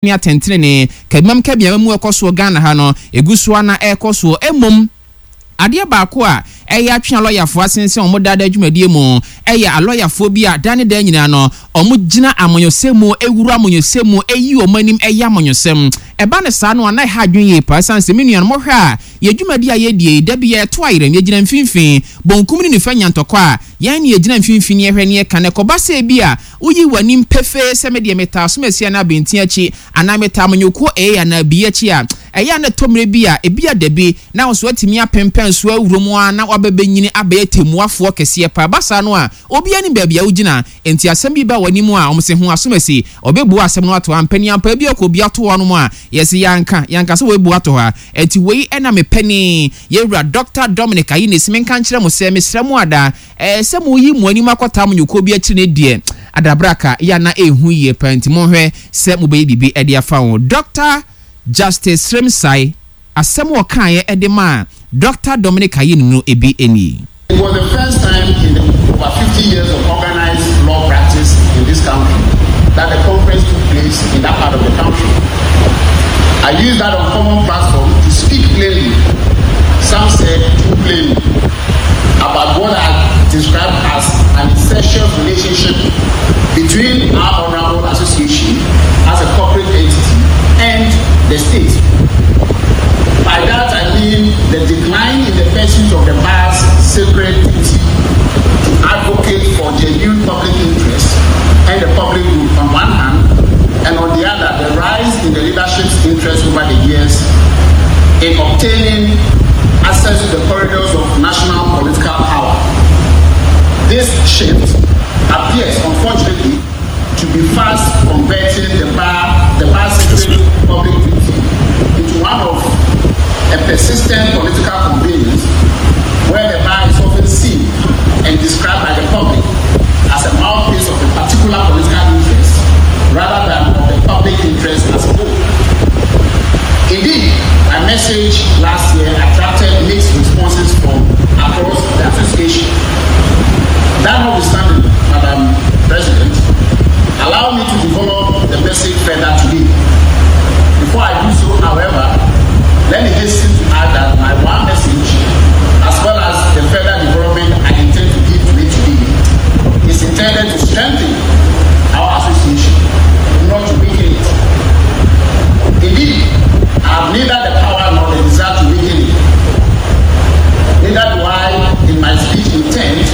Ne atɛntenenee, kabimam kabiama mu ɛkɔ soɔ Ghana ha no, ɛgu so ara na ɛrekɔ soɔ. Mmom, adeɛ baako a ɛyɛ atwe alɔyafoɔ asensɛn wɔn daadaa dwumadie mu yɛ alɔyafoɔ bi a da ne da nyinaa no, wɔgyina amanyɔsɛm mu, wura amanyɔsɛm mu, yi wɔn anim yɛ amanyɔsɛm. Ɛba no saa no a, na ɛha adwene yie paa ɛsiane sɛ me nuanom, mohwɛ a, yɛn dwumadie a yɛdie yi, da biara yɛto ayerɛm, yɛgyina mfimfini, bonkum ne nifa nya ntɔkwa a, yɛn na yɛgyina mfimfini yɛhwɛ ne yɛka. Na ɛkɔba sɛ ebia Woyi w'anim pefee sɛ me deɛ metaa asomasia anaa abɛnten akyi, anaa metaa amanyɔkuo A anaa B akyi a, ɛyɛ a na ɛtɔ mmerɛ bi a, ebia dabi, na wo nso woatumi apempɛn so awura mu ara na woabɛbɛnyini abɛyɛ tɛmmuafoɔ kɛseɛ paa. Ɛba saa no a, obiara nim baabi a wogyina. Enti asɛm bi ba w'anim a, wɔse ho asomasi, ɔbɛbua asɛm no ato hɔ. Ampaniampa bi akɔ obi ato hɔ nom a, yɛse yɛanka, yɛanka sɛ wɔabu ato hɔ a. Enti wei na mepɛ ne yɛn wura Dɔkta Dominic Ayinesi menka nkyerɛ mo sɛ, mesrɛ mo ada, Ɛɛ sɛ moyi mo anim akɔtaa mo nyɔnkuo bi akyiri no deɛ, adabraka yɛ a na ɛnhu yie paa nti monhwɛ sɛ mobɛyɛ biribi de afa ho. Dɔkta Justice Srem-Sai, asɛm a ɔkaeɛ de maa Dɔkta Dominic Ayine no bi nie. It was the first time in the over 50 years of organized law practice in this country that the conference took place in that part of the country. I used that uncommon platform to speak plainly, some said too plainly, about what I described as an incestuous relationship between our honorable association as a corporate entity and the state. By that I mean the decline in the pursuit of the bar's sacred duty to advocate for genuine public interest and the public good on one hand, and on the other, the rise in the leadership's interest over the years in obtaining access to the corridors of national political power. This shift appears, unfortunately, to be fast converting the bar, the bar's sacred public duty into one of a persistent political convenience where the bar is often seen and described by the public as a mouthpiece of a particular political interest rather than of the public interest as a whole. Indeed, my message last year attracted mixed responses from across the association. That notwithstanding, Madam President, allow me to develop the message further today. Before I do so, however, let me hasten to add that my one message, as well as the further development I intend to give to it today, is intended to strengthen our association, not to weaken it. Indeed, I have neither the power nor the desire to weaken it. Neither do I, in my speech, intend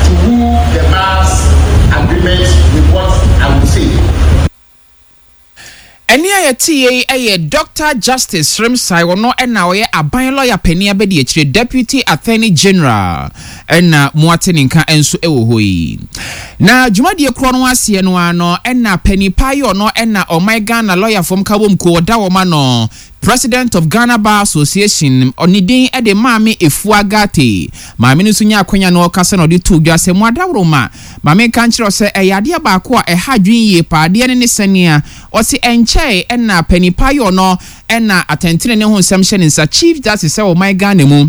to woo the bar's agreement with what I will say. Ɛnne a yɛteeɛ yi yɛ Dɔkta Justice Srem-Sai, ɔno na ɔyɛ aban lɔya panin abadiakyire, Deputy Attorney General, na moate ne nka nso wɔ hɔ yi. Na dwumadie korɔ no aseɛ no ara no na panin paa yi ɔno na ɔman Ghana lɔyafoɔ nkabom kuo ɔda wɔn ano, President of Ghana Bar Association, ne din de Maame Efua Ghartey. Maame no nso nyaa akwanya na ɔrekasa na ɔde too dwa sɛ, Mo adaworoma, ma menka nkyerɛ wo sɛ ɛyɛ adeɛ baako a ɛha adwene yie paa, adeɛ no ne sɛnea ɔse ɛnkyɛe na panin pa yi ɔno na atɛntenenee ho nsɛm hyɛ ne nsa, Chief Justice wɔ ɔman Ghana mu,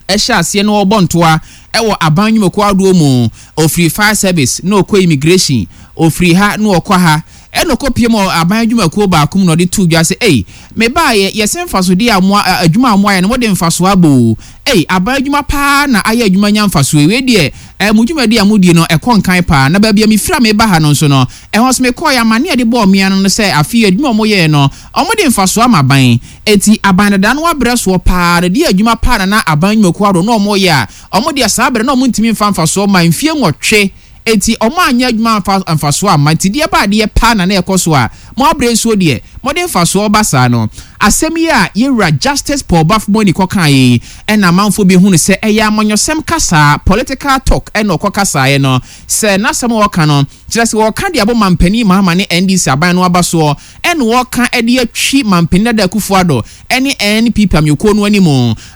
hyɛ aseɛ na ɔrebɔ ntoa wɔ aban nnwumakuo ahodoɔ mu, ɔfiri Fire Service na ɔkɔ Immigration, ɔfiri ha na ɔkɔ ha, ɛna ɔkɔpiem wɔ aban adwumakuo baako mu na ɔde too dwa sɛ, Ei, mebaeɛ, yɛse mfasodeɛ a mo, adwuma a moayɛ no mode mfasoɔ aba o, ei, aban adwuma pa ara na ayɛ adwuma nya mfasoɔ yi, wei deɛ, eh, mo dwumadie a modie no, ɛkɔ nkan pa ara, na baabi a mefiri a mereba ha no nso no, ɛhɔ nso mekɔeɛ, amanneɛ a yɛde bɔɔ me ano no sɛ afe yi adwuma a wɔyɛeɛ no, wɔde mfasoɔ ama aban. Enti aban dada no abrɛ soɔ paa no deɛ adwuma paa na na aban nnwumakuo ahoroɔ na wɔyɛ a wɔn deɛ saa berɛ no na wɔntumi mfa mfasoɔ mma mfie nwɔtwe enti wɔn anyɛ adwuma amfa mfasoɔ amma nti deɛ ba adeɛ paa na na ɛkɔ so a mo abrɛ nsuo deɛ mode mfasoɔ ba saa no asɛm yi a yɛwura Justice Paul Baffoe-Bonnie kɔkaeɛ yi ɛna amanfoɔ bi hunu sɛ ɛyɛ amanyɔsɛm kasaa political talk ɛna ɔkɔ kasaeɛ no sɛ n'asɛm a ɔka no kyerɛ sɛ wɔka de abɔ Mampanin Mahama ne NDC aban no aba soɔ ɛna wɔka de atwi Mampanin Dada Akufo Addo ne NPP amanyɔkuo no anim.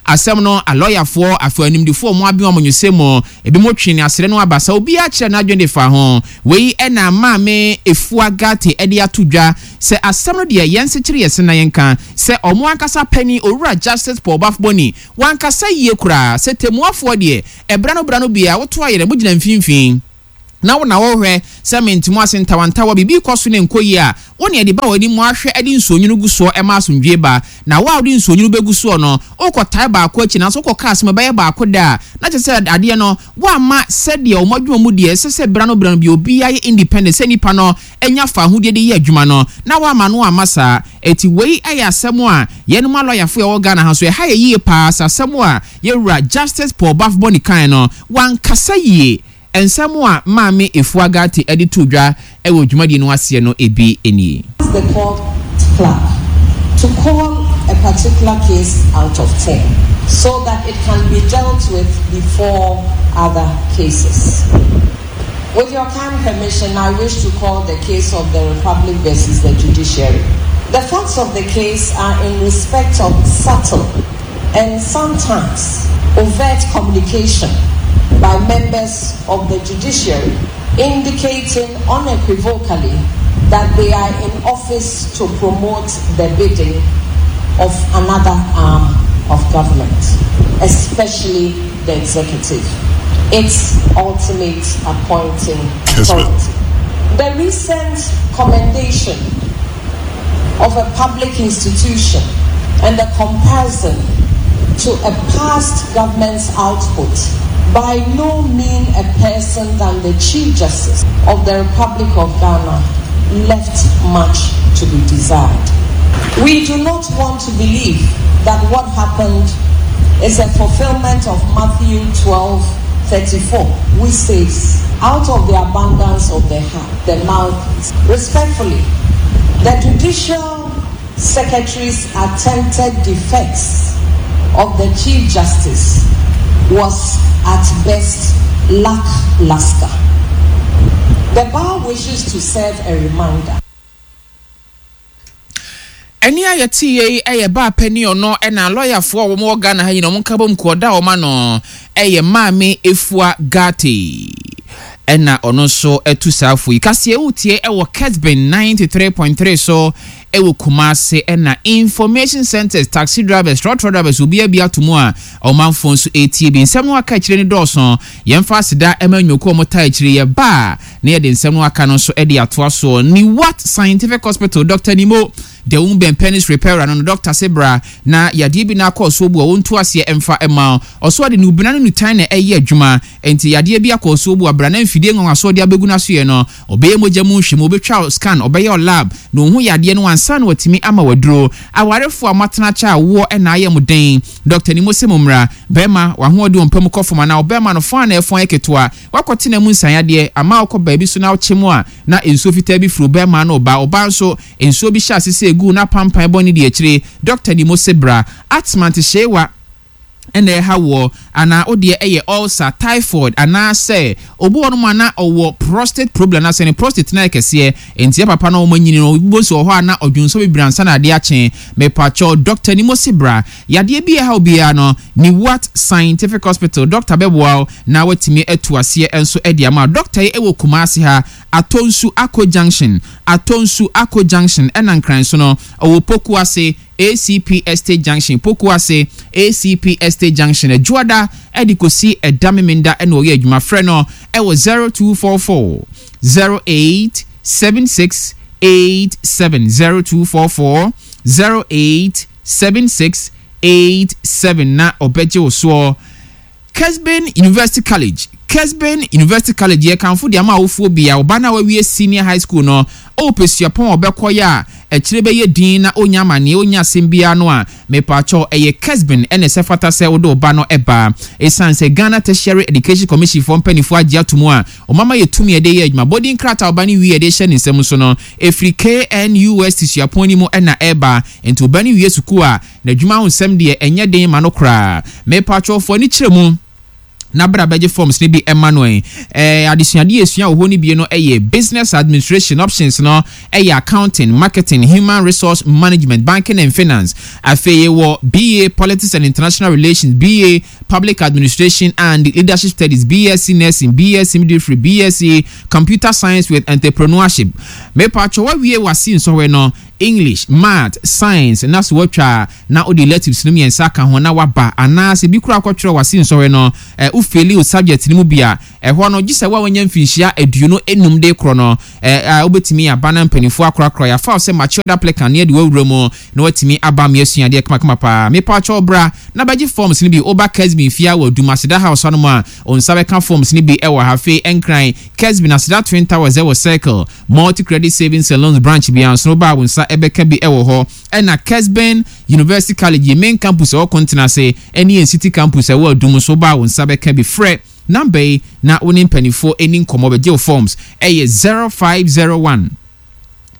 Asɛm no, alɔyafoɔ, afei animdefoɔ a wɔaben amanyɔsɛm mu, ebinom twee ne asrɛ no aba saa, obiara kyerɛɛ n'adwene de faa ho. Wei na Maame Efua Ghartey de ato dwa sɛ asɛm no deɛ yɛnsekyere yɛn se na yɛnka sɛ wɔn ankasa panin Owura Justice Paul Baffoe-Bonnie wankasa yie koraa sɛ tɛmmuafoɔ deɛ ɛberɛ ano berɛ ano biara woto ayerɛ mogyina mfimfini. Na wo na wohwɛ sɛ mente mo ase ntawantawa, biribi rekɔ so na ɛnkɔ yie a, wo na ɛde ba w'anim ahwɛ de nsuonwunu gu soɔ ma asomdwoeɛ ba. Na wo a wode nsuonwunu bɛgu soɔ no, worekɔtae baako akyi, nanso wokɔka asɛm a ɛbɛyɛ baako da a, na kyerɛ sɛ adeɛ no, woamma sɛdeɛ wɔn adwuma mu deɛ ɛsɛ sɛ berɛ ano berɛ ano biara obiara yɛ independent sɛ nnipa no nya fawohodie de yɛ adwuma no, na woamma no amma saa. Enti wei yɛ asɛm a yɛnom alɔyafoɔ a yɛwɔ Ghana ha nso, ɛha yɛn yie pa ara sɛ asɛm a yɛn wura Justice Paul Baffoe-Bonnie kaeɛ no, wankasa yie. Nsɛm a Maame Efua Ghartey de too dwa wɔ dwumadie no aseɛ no bi nie. Ask the court clerk to call a particular case out of ten so that it can be dealt with before other cases. With your kind permission, I wish to call the case of the Republic versus the Judiciary. The facts of the case are in respect of subtle and sometimes overt communication by members of the judiciary indicating unequivocally that they are in office to promote the bidding of another arm of government, especially the executive, its ultimate appointing authority. The recent commendation of a public institution and the comparison to a past government's output by no mean a person than the Chief Justice of the Republic of Ghana left much to be desired. We do not want to believe that what happened is a fulfillment of Matthew 12 34, which says, Out of the abundance of the heart, the mouth. Respectfully, the judicial secretary's attempted defense of the Chief Justice was at best lackluster. The bar wishes to serve a reminder. Ɛnne a yɛteeɛ yi yɛ baa panin ɔno na lɔyafoɔ a wɔn wɔ Ghana ha nyinaa wɔn nkabom kuo ɔda wɔn ano yɛ Maame Efua Ghartey ɛna ɔno nso atu saa fo yi. Kaseɛ wotie ɛwɔ Kesben 93.3 so ɛwɔ Kumase ɛna Information Centers, taxi drivers, trɔtrɔ drivers obiara bi ato mu a ɔmanfoɔ nso ɛretie bi. Nsɛm no aka akyire no dɔɔso. Yɛmfa aseda ɛma nnwumakuo a wɔtaa akyire yɛ ba a na yɛde nsɛm no aka no nso de atoa soɔ. Niwat Scientific Hospital, Doctor Nimo, deɛ wo bɛn penis repairer no no, doctor se bra na yadeɛ bi na akɔ ɔsoɔ bu a wɔntu aseɛ mfa mma wo. Ɔsoɔ de nubena ne nutan na ɛyɛ adwuma, enti yadeɛ bi akɔ ɔsoɔ bu a bra na mfidie nwanwasoɔ de abɛgu n'asoeɛ no, ɔbɛyɛ mogya mu nhwɛmu, ɔbɛtwa wo scan, ɔbɛyɛ wo lab na ɔhu yadeɛ no ansa na watumi ama wo aduro. Awarefoɔ a moatena akyɛ a woɔ na ayɛ mo den, Doctor Nimo se mommra. Bɛrima, w'ahoɔden wɔ mpa mu kɔ fam anaa ɔbɛrima no fɔn a na ɛfɔn yɛ ketewa, Woakɔtena mu nsaeadeɛ ama wokɔ baabi so na wokye mu a, na nsuo fitaa bi firi wo barima ano reba. Ɔbaa nso, nsuo bi hyɛ ase sɛ ɛgu na pampan bɔ ne di akyire. Dɔkta ni mo se bra. Asthma ntehyeewa na ɛha woɔ anaa wo deɛ ɛyɛ ulcer, typhoid anaa sɛ obi wɔ nom a na ɔwɔ prostate problem anaa sɛ ne prostate no ayɛ kɛseɛ nti yɛ papa no wɔn anyini no wobɛhu sɛ wɔ hɔ a na ɔdwonsɔ bebree ansa na adeɛ akye. Mepakyɛw dɔkta ni mo se bra. Yadeɛ bi a ɛha wo biara no, Newat Scientific Hospital dɔkta bɛboa wo na watumi atu aseɛ nso de ama wo. Dɔkta yi wɔ Kumasi ha, Atonsu Ako Junction, Atonsu Ako Junction ɛna Nkran so no, ɔwɔ Pokuase, ACP Estate Junction, Pokuase, ACP Estate Junction. Adwoada de kɔsi ɛda Memenda na ɔyɛ adwuma. Frɛ no wɔ 0244 08 76 87, 0244 08 7687 na ɔbɛgye wo soɔ. Kesben University College Kesben University College yɛ kamfo de ama awofoɔ bia ɔba no a wawie senior high school no ɔɔpɛ suapɔn a ɔbɛkɔ yɛ a akyire bɛyɛ din na ɔnnya amaneɛ ɔnnya asɛm biara no a mepaakyɛw ɛyɛ Kesben ɛna ɛsɛ fata sɛ wode wo ba no ba ɛsiane sɛ Ghana Tertiary Education Commission foɔ mpaninfoɔ agye ato mu a wɔama yɛ tumi a yɛde yɛ adwuma bɔdin krataa a ɔba no wie a yɛde hyɛ ne nsam nso no ɛfiri KNUST suapɔn no mu na ɛba. Enti wo ba no wie sukuu a, n'adwuma ho nsɛm deɛ ɛnyɛ den ma no koraa. Mepakyɛw fa w'ani kyerɛ mu na bra bɛgye forms no bi ma no ɛ. Ɛɛ, adesuadeɛ a yɛsua wɔ hɔ no bi no yɛ Business Administration, options no yɛ Accounting, Marketing, Human Resource Management, Banking and Finance. Afei yɛwɔ BA Politics and International Relations, BA Public Administration and Leadership Studies, BSc Nursing, BSc Midwifery, BSc Computer Science with Entrepreneurship. Mepakyɛw woawie w'ase nsɔhwɛ no, English, Math, Science na so woatwa a na wode electives no mmiɛnsa aka ho na woaba anaasɛ bi koraa kɔtwerɛ w'ase nsɔhwɛ no ɛ, wo. wofeeli wo subject no mu bi a, ɛhɔ no, gye sɛ wo a woanya mfinhyia 25 de rekorɔ no, ɛ, a wobɛtumi aba na mpanimfoɔ akorakora yɛafa wo sɛ matured applicant na yɛde wo awura mu na woatumi aba ama yɛasua adeɛ kamakama paa. Mepakyɛw bra na bɛgye forms no bi. Woba Kesbin fie ha wɔ Adum, Aseda House hanom a, wo nsa bɛka forms no bi wɔ ha. Afei Nkran, Kesbin, Aseda Twin Towers wɔ Circle, Multi Credit Savings and Loans branch biara nso no, woba a wo nsa bɛka bi wɔ hɔ. Ɛna Kesben University College, yɛn main campus a ɛwɔ Kontenase, ɛne yɛn city campus a ɛwɔ Adum nso, woba a wo nsa bɛka bi. Frɛ number yi na wo ne mpanimfoɔ nni nkɔmmɔ bɛgye wo forms. Ɛyɛ 0501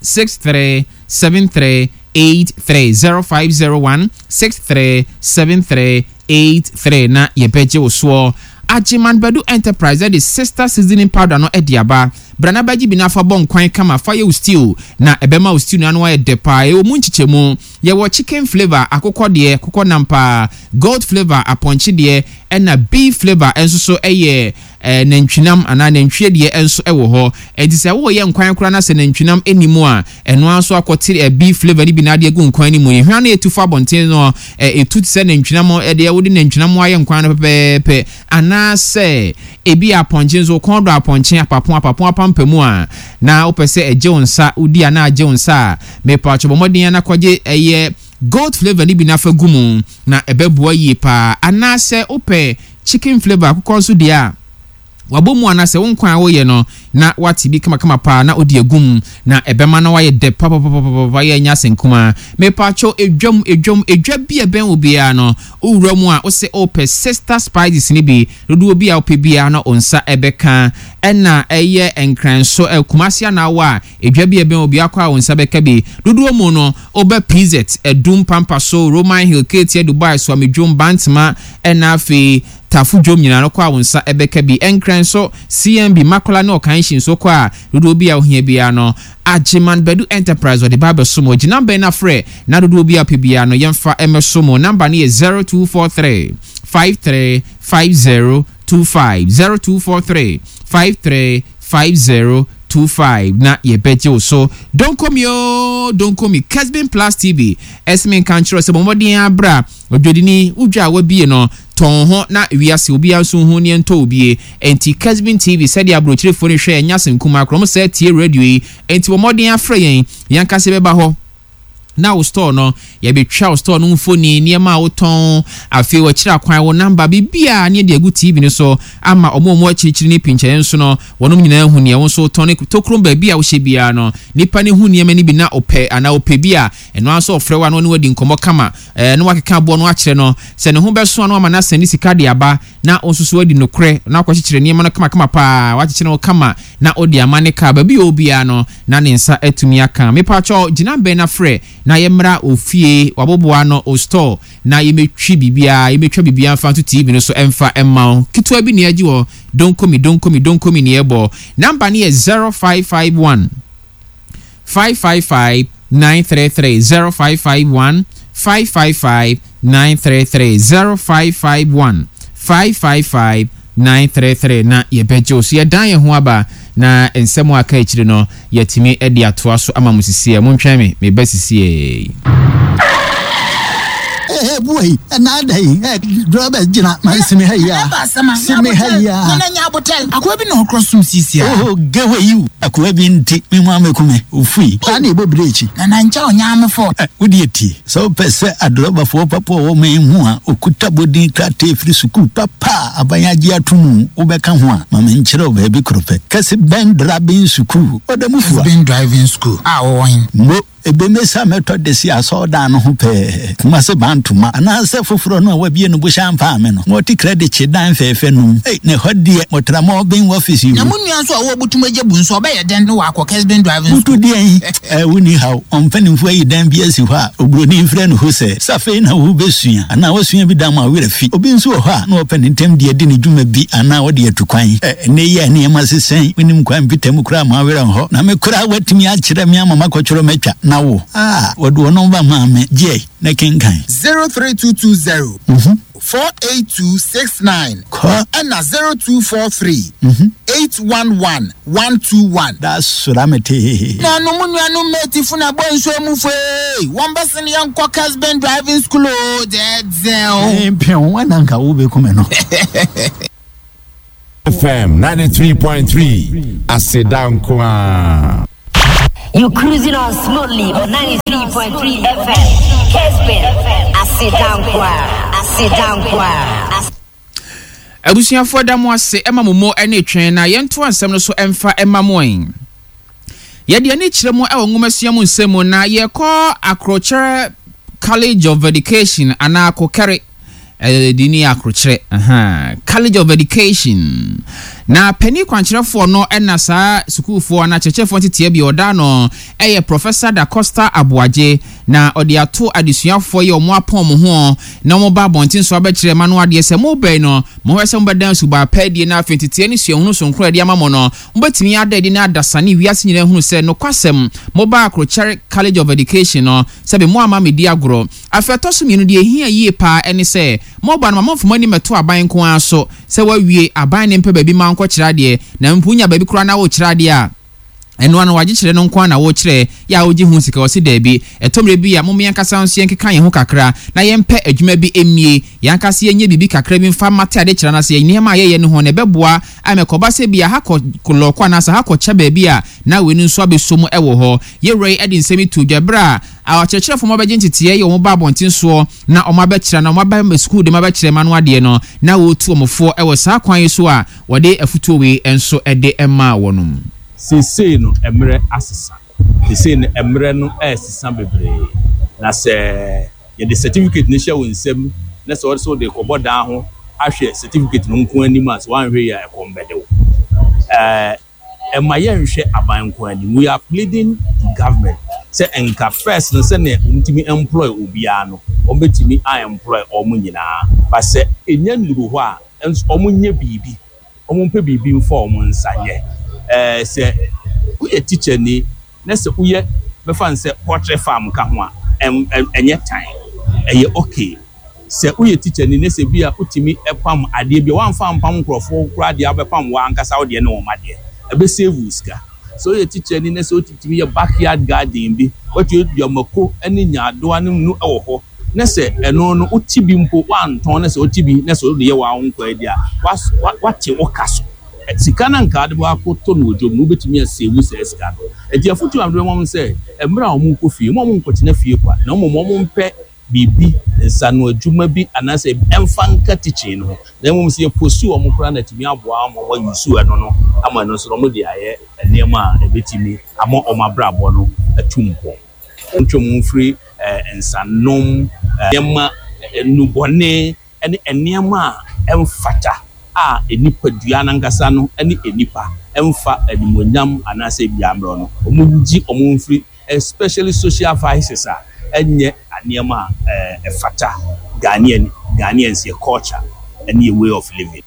63 73 83, 0501 63 73 83 na yɛbɛgye wo soɔ. Agyeman Badu Enterprise de Sister Seasoning Powder no de aba. Bra na bɛgye bi na fa bɔ nkwan kama fa yɛ wo stew na ɛbɛma wo stew no ano ayɛ dɛ paa. Ɛwɔ mu nkyekyɛmu. Yɛwɔ chicken flavour, akokɔ deɛ, akokɔ nam paa, goat flavour, apɔnkye deɛ, ɛna beef flavour nso so yɛ nantwinam anaa nantwie deɛ nso wɔ hɔ. Enti sɛ woreyɛ nkwan koraa na sɛ nantwinam nni mu a, ɛno ara nso akɔte beef flavour no bi na ade agu nkwan no mu. Ehwa no a etu fa abɔnten no, etu te sɛ nantwinam deɛ wode nantwinam ayɛ nkwan no pɛpɛɛpɛ. Anaasɛ ebia apɔnkye nso, wo kɔn dɔ apɔnkye, apapo, apapo apampamu a, na wopɛ sɛ ɛgye wo nsa, wodi a na agye wo nsa a, mepakyɛw bɔ mmɔden ara na kɔgye ɛyɛ goat flavour no bi na fa gu mu, na ɛbɛboa yie paa. Anaasɛ wopɛ chicken flavour, akokɔ nso deɛ a, wabɔ mu anaasɛ wo nkwan a woyɛ no na wate bi kamakama paa na wode agu mu na ɛbɛma no ayɛ dɛ papapapapapa yɛ ɛnyɛ asɛm kumaa. Mepakyɛw edwam edwam edwa bi a ɛbɛn wo biara no wowura mu a wose wopɛ sister spices no bi dodoɔ bi a wopɛ biara no wo nsa ɛbɛka ɛna ɛyɛ Nkran so ɛ Kumasi anaa wɔ a edwa bi a ɛbɛn wo biara kɔ a wo nsa bɛka bi dodoɔ mu no wobɛ PZ Adum Pampa so Roman Hill Ketia Dubai Suamidwom Bantama ɛna afei Tafo dwom nyinaa no kɔ a wo nsa bɛka bi. Nkran nso, CMB, Makola ne Ɔkanhyi nso kɔ a dodoɔ bi a wohia biara no, Agyeman Badu Enterprise wɔde ba abɛso mo. Gye number yi na frɛ na dodoɔ bi a wopɛ biara no yɛmfa mmɛso mo. Number no yɛ 0243 53 50 25, 0243 53 50 25 na yɛbɛgye wo so. Donkomi oo, Donkomi, Kesbin Plus TV, ɛse menka nkyerɛ wo sɛ bɔ mmɔden ara bra. Odwadini, wo dwa a woabue no, tɔn wo ho na wiase obiara nso nhu neɛ ntɔ wo bie. Enti Kesbin TV, sɛdeɛ aburokyerefoɔ no hwɛ ɛnyɛ asɛm kumaa koraa, wɔn saa tie radio yi, enti bɔ mmɔden ara frɛ yɛn, yɛn ankasa yɛbɛba hɔ na wo store no, yɛbɛtwa wo store no mfoni, nneɛma a wotɔn, afei wɔakyerɛ akwan, wo number, biribiara ne yɛde agu TV no so ama wɔn a wɔwɔ akyirikyiri ne pinkyɛeɛ nso no, wɔnom nyinaa ahu neɛ wo nso wotɔn ne tokrom baabi a wohyɛ biara no, nipa no hu nneɛma no bi na ɔpɛ anaa ɔpɛ bi a, ɛno ara nso ɔfrɛ wo a na ɔne wo adi nkɔmmɔ kama. Ɛɛ, na wakeka aboɔ no akyerɛ no. Sɛ ne ho bɛso a, na wama no asan ne sika de aba, na wo nso so woadi nokorɛ, na wakɔkyekyere nneɛma no kamakama pa ara, wakyekyere no kama, na wode ama ne kaa. Baabi a ɔwɔ biara no, na ne nsa atumi aka. Mepakyɛw, gyina bɛn na frɛ na yɛmmra wo fie, w'aboboano, wo store, na yɛmmɛtwi biribiara, yɛmmɛtwa biribiara mfa nto TV no so mfa mma wo. Ketewa bi na yɛagye wɔ Donkomi, Donkomi, Donkomi na yɛbɔ. Number no yɛ 0551. 555 933 0551 555 933 0551 555 933 na yɛbɛgye wo so. Yɛdan yɛn ho aba na nsɛm a aka akyiri no yɛatumi de atoa so ama mo sisiɛ. Montwɛn me, meba sisiɛ. Ee, bua yi, ɛna ada yi, ɛ, drɔbɛ gyina, ma si me ha yi a. Si me ha yi a. Nana nya abotɛ. Akoa bi na ɔkorɔ som sisi a. Oh, gewe yi, akoa bi nti, me ho ameku me, ofui. Saa na ɛbɔ birekyi. Nana nkyɛ ɔnya ame fɔ. Ɛ, wo deɛ tie, sɛ wopɛ sɛ adrɔbafoɔ papa a ɔwɔ man mu a ɔkuta bodin krataa firi sukuu papa a aban agye ato mu wobɛka ho a, ma menkyerɛ wo baabi koro pɛ. Kɛse Bɛn Drabin Sukuu, Ɔdamufua. Kɛse Bɛn Driving School a ɔwɔ he? Mo. Ebemesa mɛtɔ de si asɔrdan no ho pɛɛ, Kumase Bantoma, anaasɛ foforɔ no a wabie no bohyɛ ampa ame no, na ɔte krɛdekye dan fɛɛfɛ no mu. Ei, na ɛhɔ deɛ, motra Mɔɔben wɔfese Na o. mo nua nso a ɔwɔ Butum Agya Bu nso, ɔbɛyɛ dɛn na wakɔ Kesben Driving Butu School? deɛn? Ɛɛ, wonni haw. Wɔn mpanimfoɔ ayi dan bi asi hɔ a oburoni frɛ no hosɛ. Sɛ afei na worebɛsua, anaa woasua bi da ama wo werɛ afi. Obi nso wɔ hɔ a, na ɔpɛ ne ntɛm de adi ne dwuma bi anaa ɔde atu kwan. Ɛ, ɛnnɛ yi a nneɛma sesa yi, wonnim kwan mpita mu koraa ma wo werɛ nhɔ. Na me koraa woatumi akyerɛ me ama makɔtwerɛ matwa, na wo? A, wɔde wo nɔmba maa me. Gye na kenkan. 03220 48269 Kɔ. ɛna 0243 811 121. Da sora me tee. Nuanom nuanom matefoɔ na bɔ nsuo mu foe wɔn bɛsene yɛn kɔ Kesben Driving School o dɛɛdɛw. Mpew, ɛna nka wobɛku me no. FM 93.3 Aseda nko ara. You cruising on smoothly on 93.3 FM. Kesbin, Asidankwa, Asidankwa. Abusuafoɔ da mo ase ma mo mo ne twɛn na yɛntoa nsɛm no so mfa mma mo ɛ. Yɛde ani kyerɛ mu wɔ nwomasua mu nsɛm mu na yɛkɔ Akrokyerɛ College of Education anaa Kokɛre Ɛde ni akrokyerɛ, ahaa, College of Education. Na panin kwankyerɛfoɔ no na saa sukuufoɔ anaa akyerɛkyerɛfoɔ nteteɛ bi ɔda ano yɛ Professor Da Costa Aboagye. Na ɔde ato adesuafoɔ yi a wɔn apɔn wɔn ho na wɔn ba abɔnten so abɛkyerɛ mma no adeɛ sɛ mobɛn no, monhwɛ sɛ mobɛda nsuba pa adie na afei nteteɛ ne suahunu sononko a yɛde ama mo no, mobɛtumi ada adi na adasa ne wiase nyinaa ahunu sɛ nokwasɛm mobaa Akrokyɛre College of Education no, sɛbe moamma ammɛdi agorɔ. Afei ɛtɔ so mmienu, deɛ ɛhia yie pa ara ne sɛ, moba no, ma momfa mo ani mmɛto aban nko ara so. Sɛ woawie, aban no mpɛ baabi mma wonkɔkyerɛ adeɛ, na mpo wonya baabi koraa na worekyerɛ adeɛ a, ɛno ara no, w'agyekyerɛ no nko ara na worekyerɛ, yɛ a wogye ho sika? Ɔse daabi. Ɛtɔ mmerɛ bi a, mom yɛn ankasa nso yɛnkeka yɛn ho kakra na yɛmpɛ adwuma bi mmie, yɛn ankasa yɛnyɛ biribi kakra bi mfa mmate adekyerɛ no ase, nneɛma a yɛyɛ no ho no, ɛbɛboa ama ɛkɔba sɛ ebia ha kɔ lɔɔkɔ anaasɛ ha kɔkyɛ baabi a na wei no nso abɛsɔ mu wɔ hɔ. Yɛn wura yi de nsɛm yi too dwa berɛ a Akyerɛkyerɛfoɔ ma bɛgye nteteɛ yɛ wɔn ba abɔnten soɔ na wɔn abɛkyerɛ anaa wɔn aba sukuu de abɛkyerɛ mma no adeɛ no na wɔretu wɔn foɔ wɔ saa kwan yi so a wɔde afutuo wei nso de maa wɔnom. Seesei no mmerɛ asesa. Seesei no mmerɛ no resesa bebree. Na sɛ yɛde certificate no hyɛ wo nsam na sɛ wɔde sɛ wode rekɔbɔ dan ho ahwɛ certificate no nko anim a, sɛ woanhwɛ yie a ɛkɔm bɛde wo. Ɛɛ. Ɛmma yɛnhwɛ aban nko anim. We are pleading to government sɛ nka first no sɛnea wɔtumi employ obiara no, wɔbɛtumi a employ wɔn nyinaa. But sɛ ɛnya nnuru hɔ a, nso wɔnyɛ biribi, wɔmpɛ biribi mfa wɔn nsa nyɛ. Ɛɛ sɛ woyɛ tikyani na sɛ woyɛ bɛfa no sɛ poultry farm ka ho a, ɛnyɛ tan, ɛyɛ okay. Sɛ woyɛ tikyani na sɛ bi a wotumi pam adeɛ bi a, woamfa ampam nkurɔfoɔ koraa deɛ a wobɛpam w'ankasa wo deɛ ne wɔn adeɛ, ɛbɛ save wo sika. Sɛ woyɛ tikyani na sɛ wotumi yɛ backyard garden bi, woatumi adua mako ne nyaadoa ne nnu wɔ hɔ, na sɛ ɛno no wote bi mpo woantɔn na sɛ wote bi na sɛ wode yɛ w'awo nkwa adi a, woate wo ka so. Sika no a anka wode bɛakɔtɔ no wɔ dwom no, wobɛtumi asave saa sika no. Enti afotuo a mede bɛma wɔn ne sɛ, mmerɛ a wɔrekɔ fie, mma wɔnkɔtena fie kwa, na mmom wɔmpɛ biribi, nsano adwuma bi anaasɛ ɛmfa nka teaching no ho, na mmom sɛ yɛ post wɔn koraa na atumi aboa ama wɔn a use ɛno no ama ɛno nso no wɔde ayɛ nneɛma a ɛbɛtumi ama wɔn abrabɔ no atu mpɔn. Wɔntwe wɔn mfiri nsanom, nneɛma, nnubɔne ne nneɛma a ɛmfata a nipadua no ankasa no ne nnipa mfa animuonyam anaasɛ ebia mmerɛw no, wɔngye wɔn mfiri especially social vices a ɛnyɛ nneɛma a ɛfata Ghanaian Ghanaians yɛ culture ne yɛ way of living.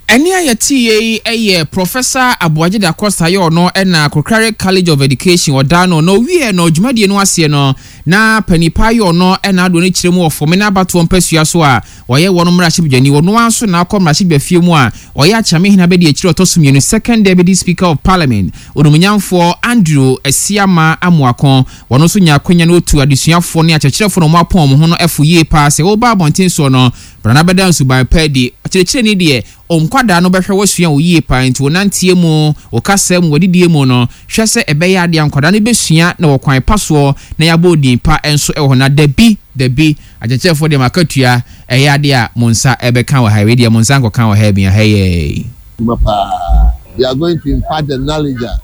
Ɛnne a yɛteeɛ yi yɛ Professor Aboagye Da Costa yɛ ɔno na Krokrare College of Education ɔdaa no na ɔwieɛ no dwumadie no aseɛ no na panin paa yɛ ɔno na adoɔ no kyerɛ mu wɔ Fomena abatoɔ mpasua so a ɔyɛ wɔn mmarahyɛbadwani ɔno ara nso na akɔ mmarahyɛbadwafie mu a ɔyɛ Akyeamehene abadiakyire ɔtɔ so mmienu Second Deputy Speaker of Parliament Onumunyamfoɔ Andrew Asiamah Amoako wɔn nso nya akwanya na ɔtu adesuafoɔ ne akyerɛkyerɛfoɔ na wɔn apɔn wɔn ho no fo yie paa sɛ wɔba abɔnten soɔ no Bra na bɛda nsuban pa adi. Ɔkyerɛkyerɛni deɛ, wo nkwadaa no bɛhwɛ wo asua wo yie paa nti wo nanteɛ mu, wo kasa mu, w'adidie mu no, hwɛ sɛ ɛbɛyɛ adeɛ a nkwadaa no bɛsua na wɔ kwan pa soɔ na yɛabɔ wo din pa nso wɔ hɔ. Na dabi, dabi, akyerɛkyerɛfoɔ deɛ mo akatua ɛyɛ adeɛ a mo nsa bɛka wɔ ha yi, wei deɛ mo nsa nkɔka wɔ ha bi, ha yɛɛi. Adwuma paa. They are going to impart the knowledge a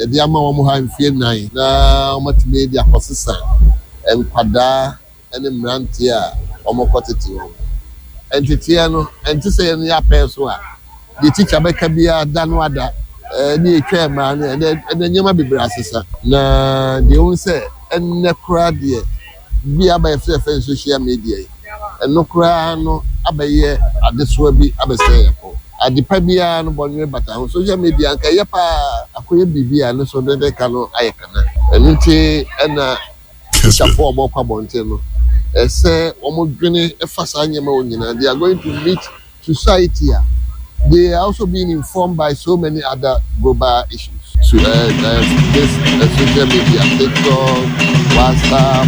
yɛde ama wɔn ha mfeɛ nnan na wɔatumi de akɔsesa nkwadaa ne mmeranteɛ a wɔkɔtete wɔn. Nteteɛ no, ɛnte sɛ yɛn yɛapɛn so a, deɛ tikya bɛka biara da no ada, ne yɛtwa mmaa no, ɛnɛ ɛnɛ nneɛma bebree asesa. Na deɛ wohu sɛ ɛnnɛ koraa deɛ, bi aba yɛfrɛ yɛfrɛ no social media yi, ɛno koraa no abɛyɛ adesoa bi abɛsɛe yɛn kɔn. Ade pa biara no bɔnwere bata ho. Social media anka ɛyɛ paa, akɔyɛ biribi a ɛno nso de ka no ayɛ kana. Ɛno nti ɛna Tikyafoɔ a wɔkɔ abɔnten no, ɛsɛ wɔdwene fa saa nneɛma wɔ nyinaa. They are going to meet society a they are also being informed by so many other global issues. So, this social media, TikTok, WhatsApp,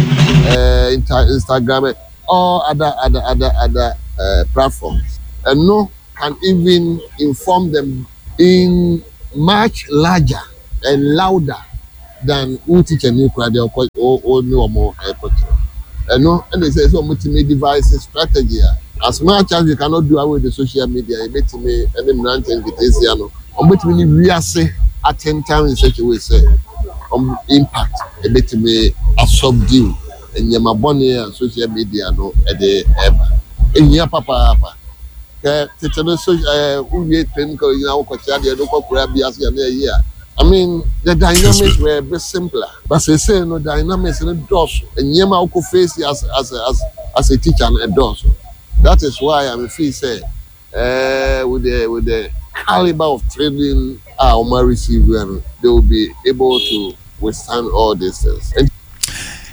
Instagram, all other other other other platforms. Ɛno. can even inform them in much larger and louder than wo teacher ni koraa deɛ ɔkɔ wo ne wɔn ɛkɔkyerɛ. Ɛno ɛna ɛsɛ sɛ wɔn tumi devise strategy a as much as we cannot do away with the social media yɛbɛtumi ɛne mmeranteɛ nketeesia no wɔn bɛtumi ne wiase atentam in such a way sɛ wɔn impact ɛbɛtumi asubdue nneɛma bɔne a social media no ɛde ɛba. Ehia papaapa. Kɛ tete no so ɛɛ wowie training college na wokɔkyerɛ adeɛ no wokɔ kura bi ase a na ɛyi a I mean the dynamics were a bit simpler but seesei no dynamics no dɔɔso nneɛma a wokɔ face as as as as a teacher no ɛdɔɔso that is why I feel sɛ ɛɛ with the with the caliber of training a wɔn receive no they will be able to withstand all these things.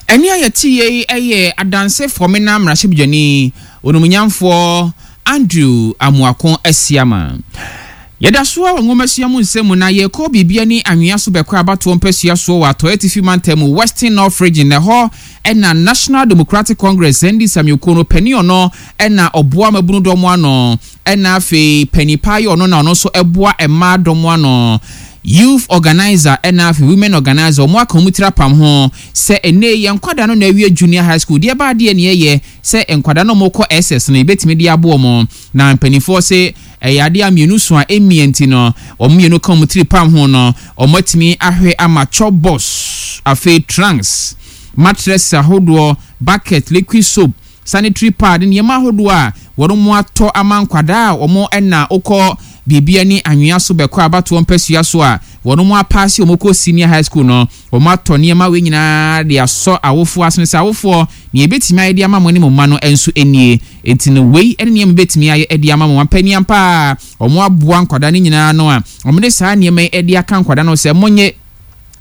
Ɛnne a yɛteeɛ yi yɛ Adanse Fɔmena mmarahyɛbadwani, Onumunyamfoɔ Andrew Amoako Asiamah. Yɛda so ara wɔ nwomasua mu nsɛm mu na yɛrekɔ biribi ani anwea so bɛkɔ abatoɔ mpasua soɔ wɔ Atɔeɛ Atifi Mantam mu, Western North Region, na ɛhɔ na National Democratic Congress, NDC, amanyɔkuo no panin ɔno na ɔboa mmabunu dɔm ano. Ɛna afei panin paa yɛ ɔno na ɔno nso ɛboa mmaa dɔm ano, youth organiser ɛna afei women organiser, wɔn aka wɔn tiri apam ho sɛ ɛnɛ yi yɛn nkwadaa no na awie junior high school deɛ ɛbaa deɛ neɛ yɛ sɛ nkwadaa no wɔn kɔ SS no yɛbɛtumi de aboɔ wɔn na mpanimfoɔ se ɛyɛ adeɛ a mmienu so a ɛmmia nti no wɔn mmienu ka wɔn tiri pam ho no wɔn atumi ahwɛ ama chop box afei trunks mattress ahodoɔ bucket liquid soap sanitary pad, nneɛma ahodoɔ a wɔn atɔ ama nkwadaa a wɔn na wokɔ biribi ani anwea so bɛkɔ abatoɔ mpasua so a wɔn apaase wɔn kɔ senior high school no, wɔn atɔ nneɛma wei nyinaa de asɔ awofoɔ asene sɛ awofoɔ, nea yɛbɛtumi ayɛ de ama mo ne mo mma no nso nie. Enti no wei ne nneɛma yɛbɛtumi ayɛ de ama mo. Ampanin ampa ara wɔn aboa nkwadaa no nyinaa ano a wɔde saa nneɛma yi de aka nkwadaa no sɛ monnye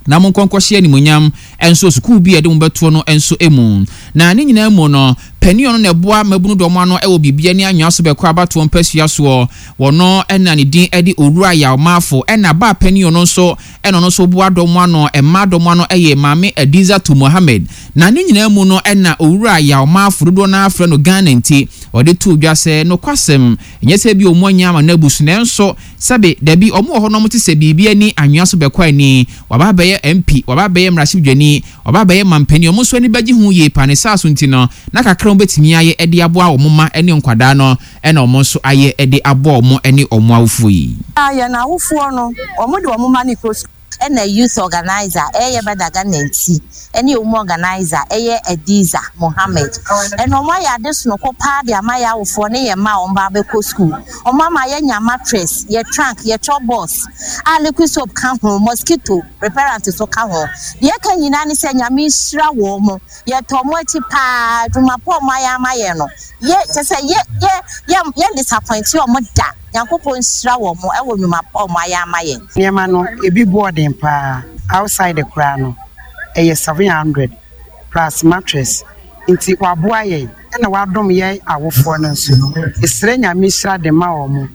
na monkɔ nkɔhyɛ animuonyam nso sukuu bi a yɛde mo bɛtoɔ no nso mu. Na ne nyinaa mu no, panin ɔno na ɛboa mmabunu dɔm ano wɔ biribiara ne anwea so bɛkɔ abatoɔ mpasua soɔ. Wɔno na ne din de Owura Yaw Marfo. Ɛna baa panin ɔno nso na ɔno nso boa dɔm ano, mmaa dɔm ano yɛ Maame Adizatu Mohammed. Na ne nyinaa mu no na Owura Yaw Marfo dodoɔ no ara frɛ no Ghana nti, ɔde too dwa sɛ nokwasɛm, ɛnyɛ sɛ ebia wɔn anya ama no abu so nanso Sɛbe, dabi, wɔn wɔ hɔ na wɔte sɛ biribi ani anwea so bɛkɔ ani, wɔaba abɛyɛ MP, wɔaba abɛyɛ mmarahyɛbdwani, wɔaba abɛyɛ mampanin, wɔn nso ani bɛgye ho yie paa, ne saa so nti no, na kakra a wɔbɛtumi ayɛ de aboa wɔn mma ne nkwadaa no na wɔn nso ayɛ de aboa wɔn ne wɔn awofoɔ yi. Yɛn awofoɔ no, wɔde wɔn mma no kɔ sukuu. Ɛna youth organiser ɛyɛ Bada Ghana nti ɛne ɔmu organiser ɛyɛ Adiza Mohammed ɛna ɔmo ayɛ ade sonoko paa de ama yɛ awofoɔ ne yɛ mma a ɔmo ba abɛkɔ school ɔmo ama yɛ nya mattress yɛ trunk yɛ chop box a liquid soap ka ho mosquito repellent so ka ho deɛ ɛka nyinaa ne sɛ Nyame nhyira wɔn mo yɛ tɔ ɔmo akyi paa adwuma pa ɔmo ayɛ ama yɛn no yɛ kyɛ sɛ yɛ yɛ yɛ yɛn disappoint ɔmo da. Nyankopɔn nhyira wɔn wɔ nwuma pa a wɔn ayɛ ama yɛn. Nneɛma no ebi boɔ den paa outside koraa no ɛyɛ 700 plus mattress nti waboa yɛn ɛna wadom yɛn awofoɔ no nso yɛsrɛ Nyame nhyira de ma wɔn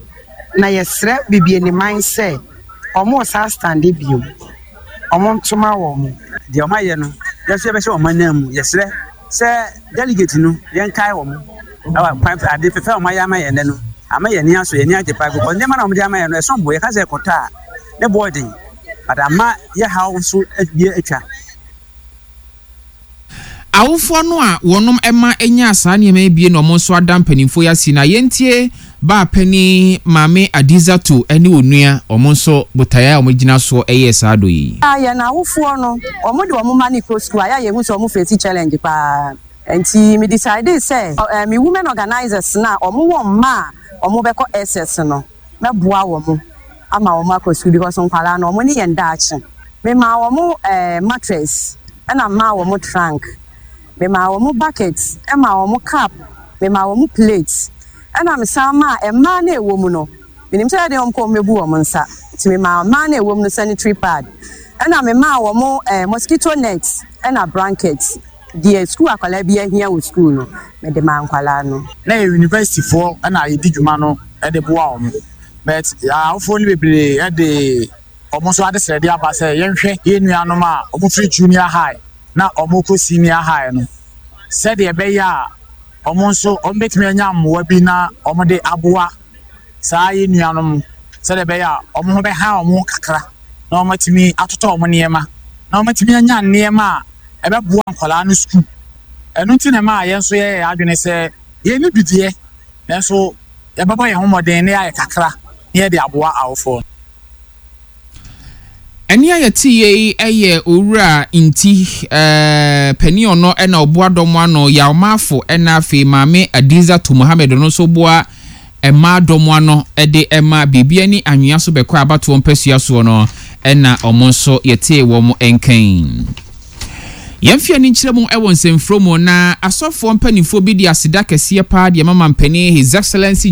na yɛsrɛ Bibianiman sɛ wɔn saa stande bio wɔn ntoma wɔn. Deɛ wɔn ayɛ no yɛn nso yɛbɛhyɛ wɔn ananmu yɛsrɛ Sɛ delegate no, yɛnkae wɔn wɔ kwan ade fɛfɛ a wɔayɛ ama yɛn nnɛ no. Ama yɛn ani asɔ, yɛn ani agye paa because nneɛma na wɔde ama yɛn no ɛsom bo. Yɛka sɛ ɛkɔtɔ a, ne bo yɛ den but ama yɛ haw nso bi atwa. Awofoɔ no a wɔnom mma nyaa saa nneɛma yi bie na wɔn nso ada mpanimfoɔ yi ase na yɛntie Baa panin Maame Adizatu ne onua, wɔn nso botaeɛ a wɔgyina soɔ yɛɛ saa dɔ yi. Yɛn awofoɔ no, wɔn de wɔn mma no kɔ sukuu a, yɛ a yɛhu sɛ wɔn face challenge paa. Nti me decidee sɛ me women organisers no a wɔn wɔ mma a wɔn bɛkɔ SS no, mɛboa wɔn ama wɔn akɔ sukuu because nkwadaa no, wɔn ne yɛn daakye. Me maa wɔn mattress, ɛna maa wɔn trunk, me maa wɔn bucket, ɛmaa wɔn cup, me maa wɔn plate. Ɛna mesan maa mmaa no a ɛwɔ mu no, menim sɛ ɛdeɛn wɔn kɔ wɔn bɛbu wɔn nsa, nti memaa mmaa no a ɛwɔ mu no sanitary pad, ɛna memaa wɔn eh, mosquito net ɛna blanket, deɛ sukuu akwadaa bi ahia wɔ sukuu no, mede maa nkwadaa no. Na yɛ university foɔ na yɛdi dwuma no de boa wɔn but awofoɔ no bebree de wɔn nso adesrɛdeɛ aba sɛ yɛnhwɛ yɛn nuanom a wɔfiri junior high na wɔrekɔ senior high no sɛdeɛ ɛbɛyɛ a wɔn nso wɔbɛtumi anya mmoa bi na wɔde aboa saa yɛn nuanom sɛdeɛ ɛbɛyɛ a wɔn ho bɛha wɔn kakra na wɔatumi atotɔ wɔn nneɛma na wɔatumi anya nneɛma a ɛbɛboa nkwadaa no sukuu. Ɛno nti na ɛmaa yɛn nso yɛyɛɛ yɛn adwene sɛ yɛnni bi deɛ, nanso yɛbɛbɔ yɛn ho mmɔden na yɛayɛ kakra na yɛde aboa awofoɔ no. Ɛnne a yɛteeɛ yi yɛ Owura Nti, panin ɔno na ɔboa dɔm ano, Yaw Marfo ɛna afei Maame Adizatu Mohammed ɔno nso boa mmaa dɔm ano de ma biribi ani anwea so bɛkɔ abatoɔ mpasua soɔ no ɛna wɔn nso yɛtee wɔn nka yi. Yɛmfe ani nkyerɛ mu wɔ nsɛmfuro mu na asɔfoɔ mpanimfoɔ bi de aseda kɛseɛ paa de ama mampanin His Excellency.